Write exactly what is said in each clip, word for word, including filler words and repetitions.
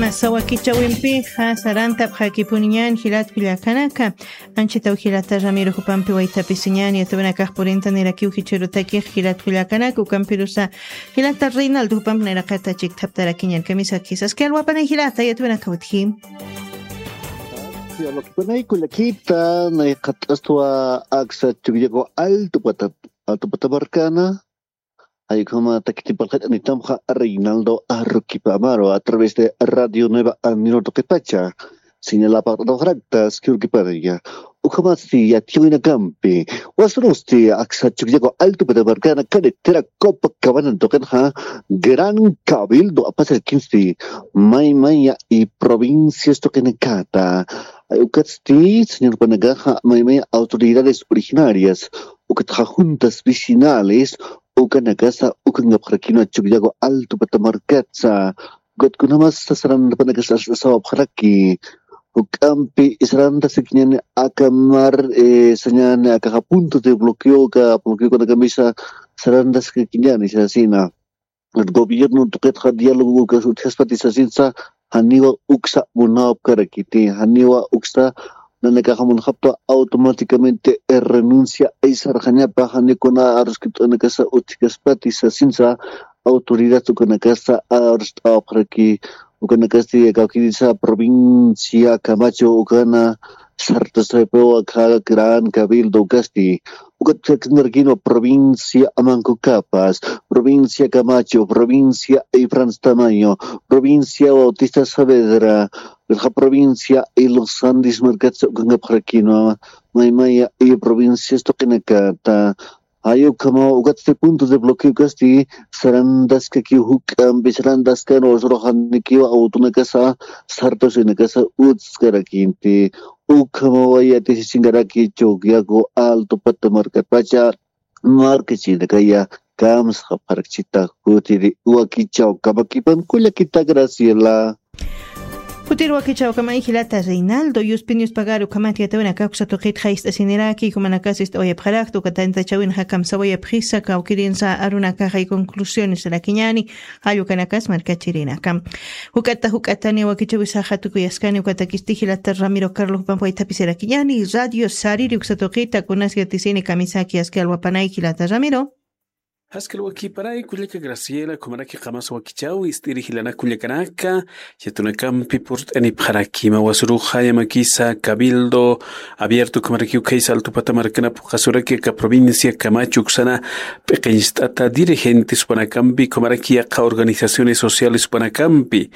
Masa wakichawimpixa sarantapxakipuniñan jilat kullakanaka. Anchitaw jilata Ramiro jupampi waytapisiñan yatawinakax purintanirakiw jichhirutakix jilat kullakanaka ukampirusa jilata Reinaldo jupampi nayraqata chikthaptarakiñan kamisakis aski alwapanay jilata yatawinaka utji. Alwakipanay kullakita nayqat'astwa aksa chukllaku altupata altupata markana. Jaykhama takitipalxat'anitamxa Reinaldo Arruquipa Amaro a través de Radio Nueva Andino tuqipacha señalapaqt'atawxarakta aski urkipanaya. Ukhamasti yatiyawinakampi wasurusti aksa chukllaku altupata markana carretera Copacabana tuqinxa Gran Cabildo apasirakinsti maymaya y provincias tuqinakata. Ukatsti señorpanakaxa maymaya autoridades originarias ukatxa juntas vecinales ukanakasa ukankapxarakinwa chukllaku altupata markatsa. Ukatkunamas sasaranpanakasa sawapxaraki juk'ampi sarantaskakiñani aka mar sañani akaxa punto de bloqueoka bloqueokanakamisa sarantaskakiñani sasina. Gobierno tuqitxa diálogo utjaspati sasinsa janiwa uksa munawapkarakiti janiwa uksa nanakaxa munxapta automáticamente renuncia aysarxañapa janikuna aruskipt'anakasa utjkaspati sasinsa. Autoridad ukanakasa arust'awapxaraki ukanakasti kawkirisa provincia Camacho ukana sartasapiwa kha gran cabildo ukasti. Ukatpsaknarkinwa provincia Mancocapas, provincia Camacho, provincia Ifrans Tamayo, provincia Bautista Saavedra, provincia Los Andes markatsa ukankapxarakinwa maymaya y provincias tuqinakata. Jay ukhamaw ukatsti puntos de bloqueo kasti sarantaskakiw juk'ampi sarantaskan wasuruxanikiw awtunakasa sartasinakasa utskarakinti. Ukhamawaya tisisinkaraki chukllaku altupata markatpacha markachinakaya kamsxapxarakchita. Jutiri wakichaw kamakipan kullakita Graciela. Jutiri wakichaw kamay jilata Reinaldo yuspin yuspagaru ukhamat yatawinaka uksa tuqitxa ist'asiniraki jumanakasa ist'awayapxarakta ukatantachawinxa kamsawayapxisa kawkirinsa arunakaxay conclusiones rakiñani. Jallukanakas markachirinaka juk'ata juk'atani wakichawisaxa tukuyaskani ukatakisti jilata Ramiro Carlos jupampi waythapisirakiñani radio sariri uksa tuqita kunas yatisini kamisaki aski alwapanay jilata Ramiro. Aski alwakipanay kullaka Graciela ukhamaraki qamasa wakichaw ist'iri jilanak kullakanaka. Yatunakampi purt'anipxarakima wasuruxa yamakisa cabildo abierto ukhamarakiw khaysa altupata markana phuqasuraki aka provincia Camacho uksana p'iqincht'ata dirigentes jupanakampi ukhamaraki yaqha organizaciones sociales jupanakampi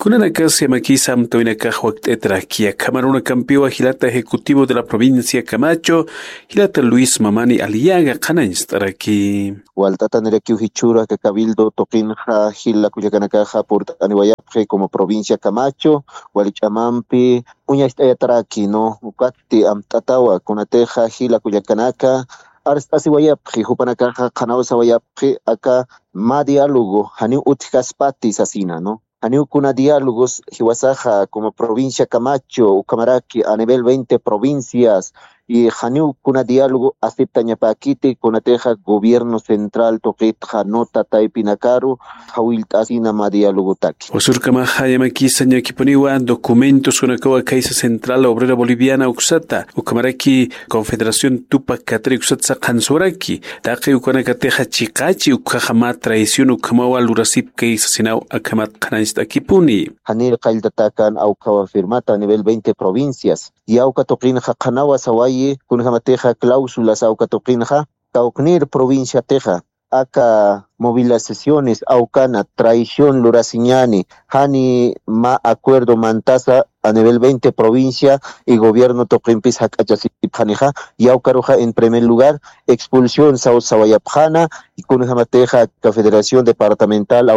kunanakas yamakisa amtawinakax wakt'ataraki akhamarunakampiwa jilata ejecutivo de la provincia Camacho jilata Luis Mamani Aliaga qhanañcht'araki. Walt'atanirakiw jichhüru aka cabildo tuqinxa jila kullakanakaxa purt'aniwayapxi como provincia Camacho wali ch'amampi uñacht'ayataraki no ukatti amt'atawa kunatixa jila kullakanaka arst'asiwayapxi jupanakaxa qhanaw sawayapxi aka mä diálogo janiw utjkaspati sasina no. Janiw kuna diálogos jiwasaxa como provincia Camacho ukhamaraki a nivel veinte provincias y janiw kuna diálogo aceptañapäkiti kunatixa gobierno central tuqitxa nota taypinakaru jawillt'asina mä dialogotaki. Usurkamaxa yamakisa ñakipuniwa documentos kunakawa khaysa central obrera boliviana uksata ukhamaraki confederación tupak katri uksatsa qhansuwaraki taqi ukanakatixa chiqachi ukhaxa mä traición ukhamawa lurasipki sasinaw akhamat qhanañcht'akipuni. Jani qalltatakan awkhawa firmata a nivel veinte provincias yawka tuqinxa qhanawa sawayi kunjamatixa cláusulas awka tuqinxa kawknir provinciatixa aka movilizaciones awkana traición lurasiñani jani mä acuerdo mantasa a nivel veinte provincia y gobierno tuqimpis jak'achasipxanixa yawkaruxa en primer lugar expulsión saw sawayapxana y kunjamatixa aka federación departamental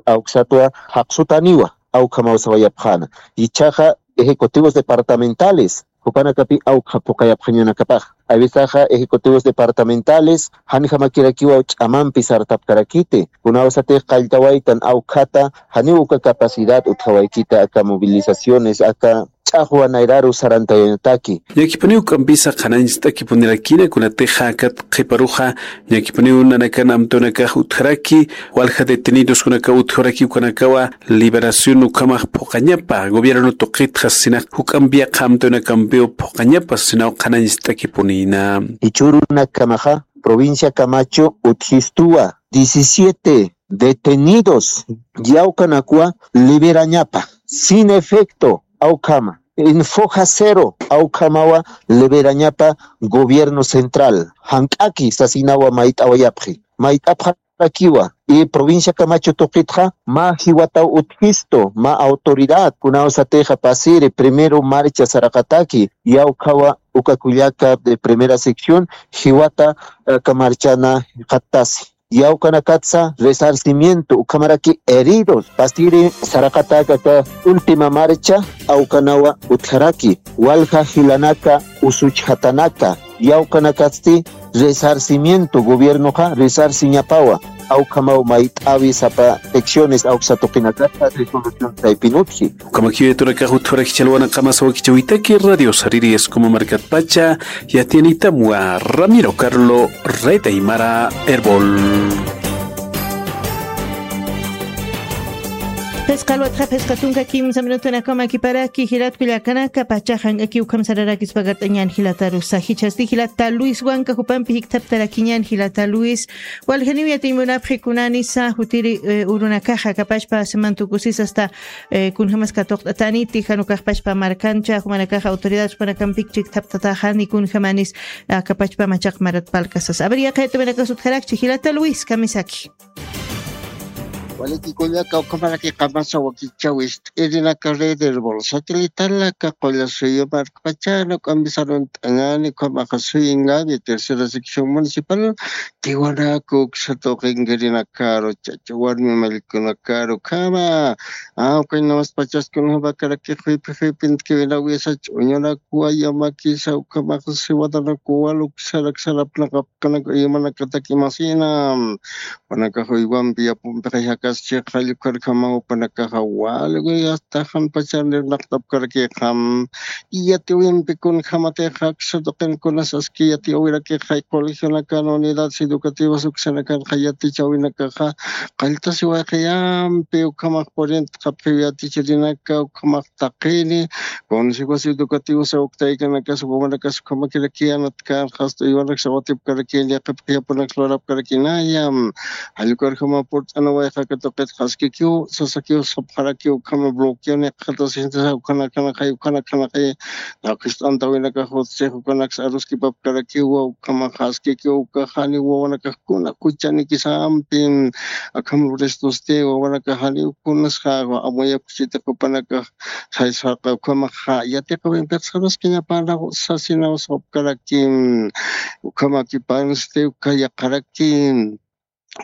awksatwa jaqsutaniwa awkhamaw sawayapxana. Ichhaxa ejecutivos departamentales jupanakapi awkha phuqayapxañanakapax avisaxa ejecutivos departamentales janjamakirakiwa ch'amampi sartapkarakiti kunawsatix qalltawaytan awkhata janiw uka capacidad utjawaykita aka movilizaciones aka ch'axwa nayraru sarantayanataki. Ñakipuniw k'ampisa qhanañcht'akipunirakina kunatixa akat qhiparuxa ñakipuniw nanakan amtunakax utjaraki, walja detenidos kunakaw utjaraki ukanakawa liberación ukhamax phuqañapa gobierno tuqitxa sinax juk'ampi yaqha amtunakampiw phuqañapa sinaw qhanañcht'akipunina. Ichurunakamaxa provincia Camacho utjistuwa diecisiete detenidos yawkanakwa liberañapa sin efecto awkhama, en foja cero awkhamawa liberañapa gobierno central jank'aki sasinawa mayt'awayapxi mayt'apxarakiwa. Y provincia Camacho tuqitxa mä jiwataw utjistu mä autoridad kunaw satixa pasiri primero marcha saraqataki yawkhawa uka kullaka de primera sección jiwata aka marchana jikxattasi. Yawkanakatsa resarcimiento ukhamaraki heridos pasiri saraqatäkaka última marcha awkanawa utjaraki walja jilanaka usuchjatanaka yawkanakatsti resarcimiento gobiernoxa resarciñapawa awkhamaw mayt'awi sapa secciones awksa tuqinakata resolución saypin utji. Ukhamakiw yatunakax utjaraki chalwana qamasa wakichawitaki radio sariri escoma markatpacha yatiyanitamwa ramiro carlo retaymara herbol. Phisqa alwatxa phisqa tunka kimsa minutunakama kiparaki jilat kullakanaka pachaxa jank'aki ukham sararakispa kart'añän jilatarusa jichhasti jilata luis wanka jupampi jikthaptarakiñän jilata luis. Waljaniw yatiy munapxi kunanisa jutiri urunakaxa kapachpa siman tukusis asta kunjamas katuqt'ataniti jan ukaxpachpa markancha jumanakaxa autoridad jupanakampik chikthaptataxani kunjamanis akapachpa machaq marat palkasas aver yaqayta manakas utjarakchi jilata luis kamisaki. Waliki kullaka ukhamaraki qamasa wakichawist'irinaka red herbol satelitalaka qulla suyu markpachana k'ambisarunt'añani ukhamaxa suyingabi tercera sección municipal tiwanaku uksa tuqinkirinakaru chacha warmi mallkunakaru ukhama. Awkañ namaspachas kunjamakaraki juypi juypintkiwinawisa ch'uñunakuwa yamakisa ukhamaxa siwadanakuwa luksarak sarapnaqap kanak uymanakatak imasina. Panakax uywampi yapumpixa jakaschixa llukarjamaw panakaxa walwi asta janpacharnir naqtapkarakixam. Yatiwimpi kunjamatixa aksa tuqinkunas aski yatiwirakixa colegionakan unidades educativas uksanakanxa yatichawinakaxa qalltasiwayxi yampi ukhamax purintxapxiw yatichirinaka ukhamax taqini. Consejos educativos awktaykanakasa wawanakas ukhamakirakiyanatkan jasta uywanaksa watipkarakini yaqipxiyapunak lurapkarakinaya. Jallkarjama purt'anawayxaka tuqitxa askikiw sasakiw sapxarakiw ukhama bloqueo niqxatasintasa ukhanakxanaqay ukhanakxanaqay. Jaqist'antawinakax utsix ukanaksa aruskipapkarakiwa ukhamaxa askikiw ukaxani wawanakax kuna juchanikisampin akham restosti wawanakaxaniw kunasxa amuyapxchitiqupanakax. Saysarqa ukhamaxa yatiqawimpiqsarus kiñapanaw sasinaw sapkarakim. Ukhamakipansti uka yaqarakim.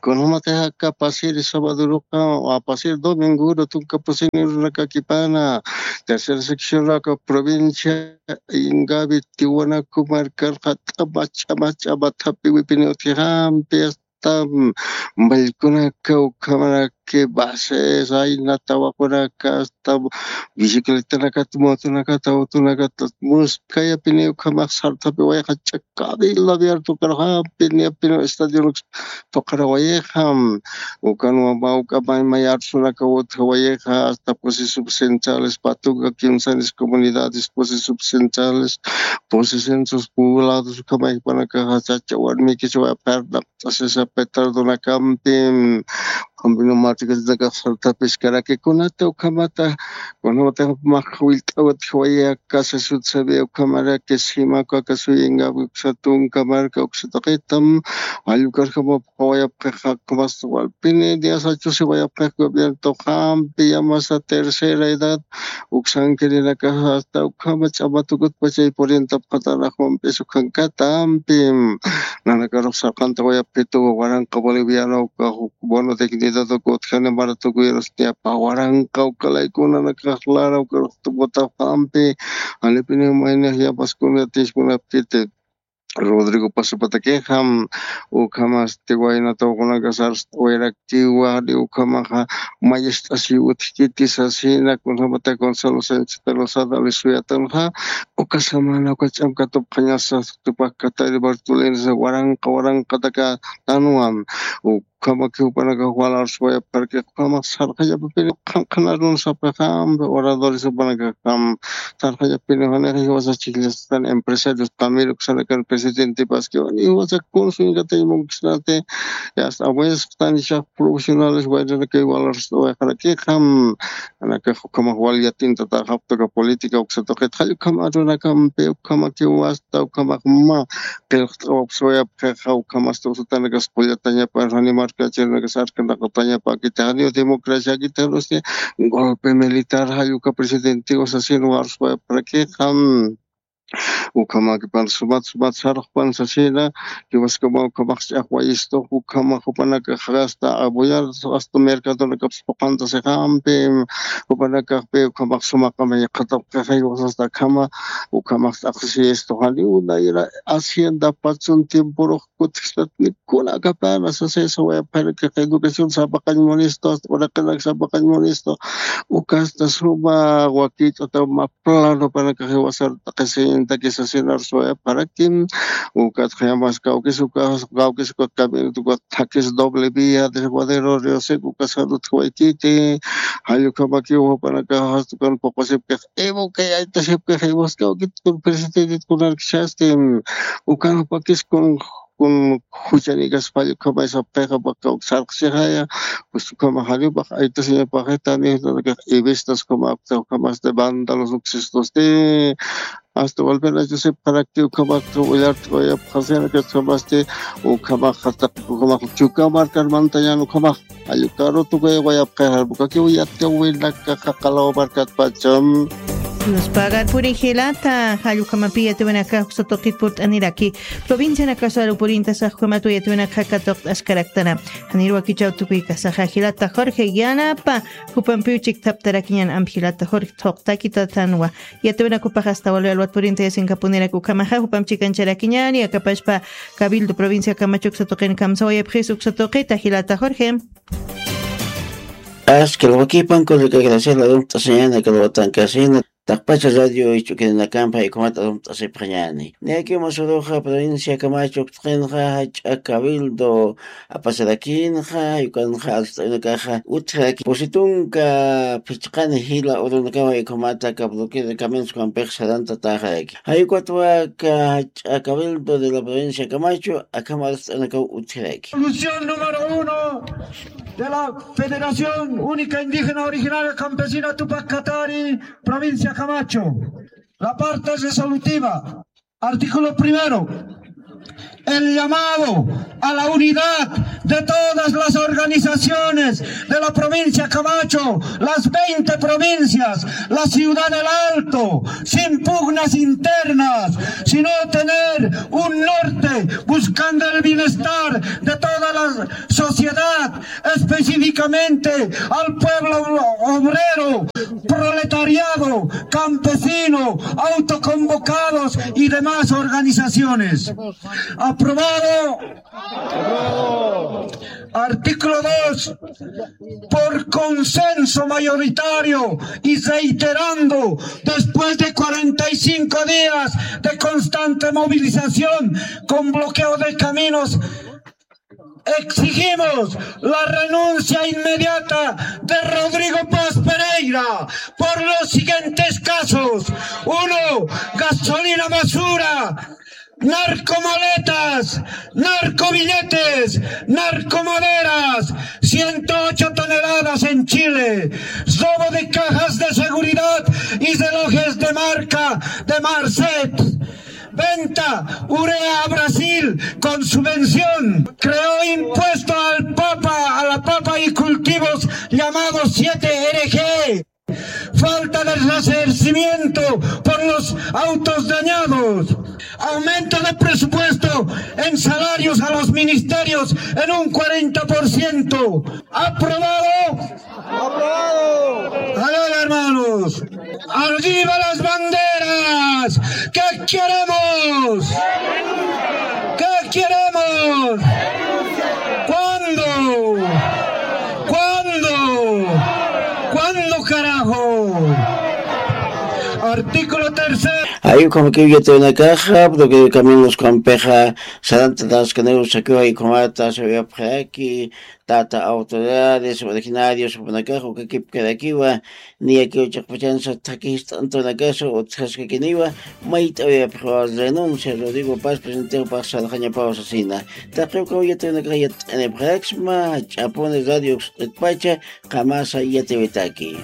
Kunjamatixa aka pasiri sabaduruqa pasiri dominguru tunka pusini urunakakipana tercera seccionraka provincia ingavi tiwanaku markarqa t'amach'amach'ama thapiwipini utjixampi asta mallkunaka ukhamaraki bases ayna tawaqunaka asta bicicletanakat motonakata autonakata muskayapini ukhamax sarthapiwayxa ch'akabila abierto karxampini apini estadionaks tuqarawayxam. Ukanwa mawk'a maymay arsunaka utjawayixa asta posesub centrales patuka kimsanis comunidades posesub centrales posesentros poblados ukhamaypanakaxa chacha warmikiswa pernaq t'asisa petardonakampi. Ukham vinomartikatinakax sartapiskaraki kunata ukhamata kunamata max willt'awatjawayaka sasut sabia ukhamaraki simaku aka suyingapi uksa tunka marka uksa taqitam. Allkarjama qawayapxix jakmasta walpini diasachusi wayapxix gobierno tuqampi yamasa tercera edad uksankirinakaxa asta ukhama ch'amatukutpachay purintapxatanaxwamp'is ukhankatampi. Nanakarux sarqantawayapxitu waranqa boliviano ukax bono dignidad ukutjani maratukuyrusniapa waranqa ukalaykunanakax lara ukarux tukutapxampi. Janipini maynixa yapaskuna tiskunapkiti Rodrigo Pazopatakixa, ukhamasti waynatawkunaka sarst'awayaraktiwa, ukhamaxa mayist'asiw utjkiti sasina, kunjamata Gonzalo Sánchez de Lozada, Luis Uyatanxa, uka samana uka ch'amkatupxañasa, tupakkatari Bartolina, waranqa waranqataka tanwan, ukhamaki jupanakax walarsuwayapxaraki, ukhamax sarxallapapini qhanqhanarun sapxixampi oradores jupanakaxam, sarxallapini janixa jiwasa chhijllastani empresarios también uksanakar presidentepaskiwan, jiwasa kunsuñkatañ munkisnati, yasta abuesqtani chax profesionales wayranakay walarsuwayxarakixam, anakax ukhamax wal yatintatäxapxta uka política uksa tuqit, jall ukham arunakampi, ukhamakiw wasta, ukhamax mä qillqt'awapxsawayapxixa, ukhamasti usutanakas qullatañapa, jani markachirinakas arkanaqatañapa, akiti janiw democracia, akiti janusti golpe militar, jall uka presidentiw sasin warsuwayapxarakixa, ukhamakipan sumat sumat sarxpan sasina, jiwaskama ukhamax ch'axwayistux, ukhamax jupanakax hasta apoyar, hasta mercadonakapas puqantasixampi, jupanakaxpi ukhamax sumaqamay qhatapxixa, jiwasasta akhama, ukhamax t'aqsiyistux, janiw nayra hacienda patsun tiemporux kutjistat, ni kuna akapana sasisa wayapxarakix, educación sapaqañ munistu, hasta uraqinaka sapaqañ munistu, ukasta suma wakich'ata mä plano panakax jiwasar t'aqhisiñtaki sasinar suwayapxarakim, ukat jayamas kawkis ukas, kawkis ukat caminot ukat thakis doble vía, desguadero Río Seco, ukas jan utjawaykiti, jall ukhamakiw jupanakax hasta ukan puqusipkix, Evo kay aytasipkix, jiwas kawkit kun presidentet kunarkchasti, ukan jupakis kun kun juchanikas pallukhamay sapxixa, pakaw sarqsixaya, pues ukhamax janipax aytasiñapaxitani, utanakax ivistas ukhamax, ukhamasti vándalos uksistusti, hasta walpinachusipxarakti, ukhamax willart'awayapxasinakat, ukhamasti, ukhamax jataq, ukhamax Chuka markar mantañan, ukhamax jall ukaru tukuyawayapaxa, ukakiw yatiyawinakaxa qalaw markatpacham. Dios pagar puri jilata, jall ukhamapï yatiyawinakax uksa tuqit purt'aniraki. Provincianakasaru purintasax ukhamatwa yatiyawinakaxa katuqt'askaraktana. Janir wakichäw tukuykasaxa jilata Jorge yanapa, jupampiw chikthaptarakiñan amp jilata Jorge thuqtaki tatanwa. Yatiyawinakupax hasta walwi alwat purintayasinkapuniraki ukhamaxa, jupam chikancharakiñani, akapachpa Cabildo Provincia Camacho uksa tuqin kamsawayapxis uksa tuqita jilata Jorge. Askil wakipan kullaka gracias, la dum t'asiñana kalwatankasina, taqpacha radio ich'ukirinakampa jaykumat dum t'asipxañani. Niyaki masuruxa provincia Camacho uktuqinxa jach'a cabildo apasirakinxa, jayukanxa arst'awinakaxa utjaraki pusitunka phichqani jila urunakama jaykumata kabluquir caminos kampix sarantataxaraki. Jayukatwa ka jach'a cabildo de la provincia Camacho akham arst'anakaw utjaraki. Solución número uno de la Federación Única Indígena Originaria Campesina Tupac Katari, provincia Camacho. La parte resolutiva, artículo primero, el llamado a la unidad de todas las organizaciones de la provincia Camacho, las veinte provincias, la ciudad del Alto, sin pugnas internas, sino tener un norte buscando el bienestar de toda la sociedad, específicamente al pueblo obrero, proletariado, campesino, autoconvocados y demás organizaciones. Aprobado. Artículo dos. Por consenso mayoritario y reiterando después de cuarenta y cinco días de constante movilización con bloqueo de caminos, exigimos la renuncia inmediata de Rodrigo Paz Pereira por los siguientes casos. Uno, gasolina basura, narcomaletas, narcobilletes, narcomaderas, ciento ocho toneladas en Chile, robo de cajas de seguridad y relojes de marca de Marcet, venta urea a Brasil con subvención, creó impuesto al papa, a la papa y cultivos llamados siete R G, falta de resarcimiento por los autos dañados, aumento de presupuesto en salarios a los ministerios en un cuarenta por ciento. ¿Aprobado? ¡Aprobado! A ver, hermanos. ¡Arriba las banderas! ¿Qué queremos? Artículo tercero. Ay, ukhamakiw yatiyawinakaxa, porque caminos kampixa, sarantataskaniw sakiw, ay, ukhamata sawiyapxaraki, tata autoridades, originarios, jupanakaxa, ukakipkarakiwa, niyakiw chiqpachansa thakist'antunakasa, utjaskakiniwa, mayt'awiyapxiwa renuncia, Rodrigo Paz, presidente, jupax sarxañapaw sasina. Taqi ukaw yatiyawinakaxa yat'anipxaraksma, ch'apuni radio, pacha, qamasa yatiyawitaki.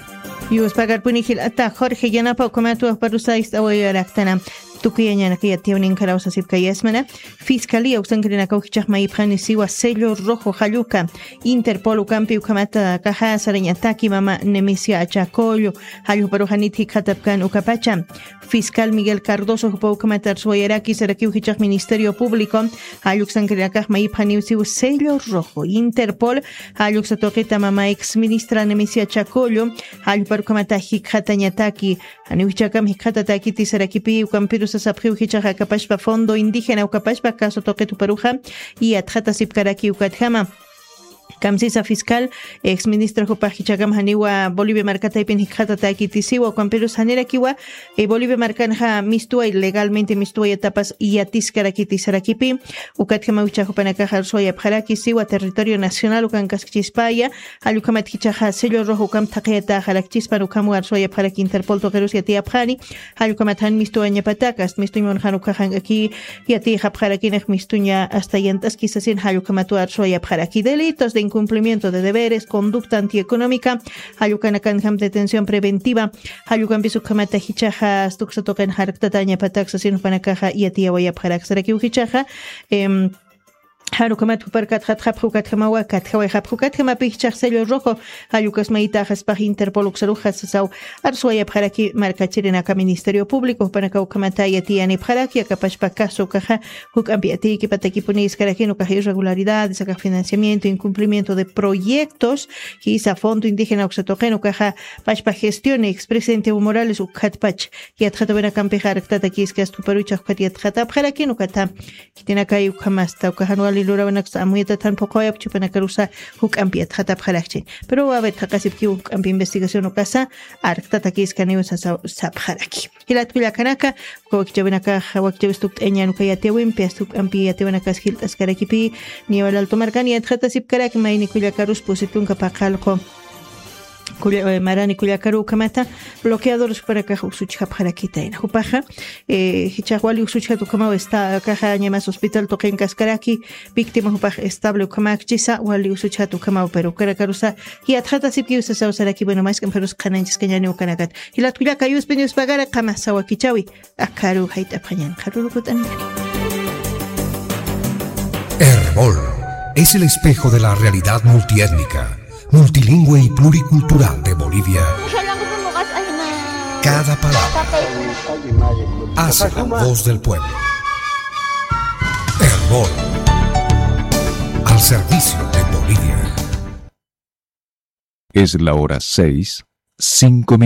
Yuspagarpuni jilata Jorge Yanapa ukhamat wajparusa ist'awayaraktana. Tukuyañanaka yatiyawninkarau sasipkayasmana. Fiscalía uksankirinakaw jichhax mayipxani siwa sello rojo jalluka. Interpol ukampi ukhamata kaja sarañataki mama Nemesia Achacollo. Jalluparuxanit jikxatapkan ukapacha. Fiscal Miguel Cardoso jupa ukhamat arsuwayaraki sarakiw jichhax Ministerio Público, jalluksankirinakax mayipxaniw siw sello rojo, Interpol, jalluksa tuqita mama ex ministra Nemesia Chacollo, jallupar ukhamata jikxatañataki, janiw jichhakam jikxatatakiti sarakipi, ukampirusa sapxiw jichhax akapashpa Fondo Indígena ukapashpa caso tuqit juparuxa, yatxatasipkaraki ukatjama. Kamsisa fiscal, ex ministra jupax jichhakam janiwa Bolivia markataypin jikxatatakiti siwa, ukampirus janirakiwa, eh, Bolivia markanxa mistuwa, legalmente mistuwa yatapas yatiskarakiti sarakipi, ukatjamaw jichhax jupanakaxa arsuwayapxaraki siwa territorio nacional ukankaskchispaya, jallukhamat jichhaxa sello rojo ukam thaqiyataxarakchispan ukhamwa arsuwayapxaraki Interpol tuqirus yatiyapxani, jallukhamat jan mistuwañapatak, ast mistuñmun jan ukhaxank'aki, yatiyxapxarakinix mistuña hasta yant'aski sasin jallukhamatwa arsuwayapxaraki. Delitos de incumplimiento de deberes, conducta antieconómica, jallukanakanjam detención preventiva, jallukampis ukhamata jichhaxa, ast uksa tuqin jarktatañapatak sasin jupanakaxa yatiyawayapxarak sarakiw jichhaxa, em, jan ukhamat jupar katxatxapxi ukatjamawa, katjawayxapxi ukatjamapi jichhax sello rojo, jallukasmayitaxaspax Interpol uksaruxa sasaw, arsuwayapxaraki markachirinaka Ministerio Público, jupanaka ukhamata yatiyanipxaraki, akapashpa caso ukaxa, juk'ampi yatiykipatakipuni iskarakin ukax irregularidades, akax financiamiento, incumplimiento de proyectos, jisa Fondo Indígena uksa tuqin ukaxa, pashpa gestión, expresidente Evo Morales, ukhatpach, yatxatawinakampixa arktatakiski ast juparuchax ukat yatxatapxarakin ukata, khitinakay ukhamasta, uka jan wali lurawinaksa amuyatatan phuqhawayapxi jupanakarusa juk'ampi yatxatapxarakchi. Pero a ver, thaqasipkiw juk'ampi investigación ukasa, arktatakiskaniw sasa, sapxaraki. Jilat kullakanaka, uka wakichawinakax, wakichawis tukt'añan uka yatiyawimpi, ast juk'ampi yatiyawinakas jilt'askarakipi, Niwa Alto markan yatxatasipkaraki mayni kullakarus pusi tunka paqallqu. Kulla-, eh, marani kullakaru ukhamata, bloqueadores jupanakax usuchjapxarakitayna. Jupaxa, eh, jichhax wali usuchjat ukhamaw esta, akaxa ñamas hospital tuqinkaskaraki, víctima jupax estable ukhamakchisa, wali usuchjat ukhamaw, pero ukanakarusa, yatxatasipkiw sasaw saraki, bueno, mask'amparus qhananchiskañani ukanakat. Jilat kullaka, Yuspin yuspagara, qamasa wakichawi, akaru jayt'apxañan, qharuru kut'ani. Erbol es el espejo de la realidad multiétnica, multilingüe y pluricultural de Bolivia. Cada palabra hace la voz del pueblo. Erbol, al servicio de Bolivia. Es la hora seis, cinco